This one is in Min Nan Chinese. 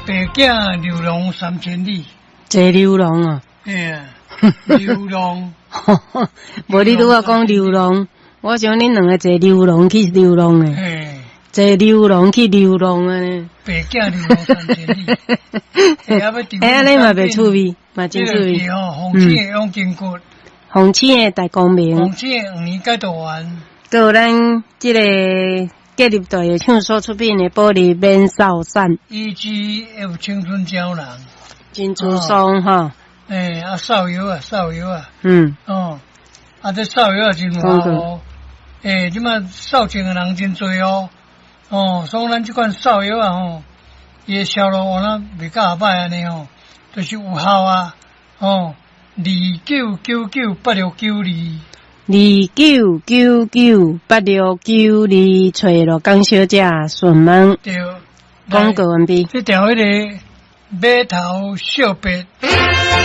白囝流浪三千里。坐流浪啊？嘿啊，流浪。無你拄仔講流浪，我想恁兩个坐流浪去流浪的。嘿。坐流浪去流浪啊！白囝流浪三千里。欸，按呢嘛袂趣味，嘛真趣味。吼，鳳青的養筋骨。鳳青的大光明。鳳青的黃年解毒丸。閣有咱這个隔立隊的唱所出品的保利免掃散。 EGF 青春膠囊。珍珠霜吼。欸，啊，掃藥啊，掃藥啊。哦，啊，這掃藥也真活哦。欸，這擺掃症的人真濟哦。哦，所以咱這款掃藥啊吼，伊的銷路有哪袂較後擺按呢吼，就是有效啊。哦，29998692。29998692，揣羅江小姐順問。對。廣告完畢。這條彼个碼頭惜別。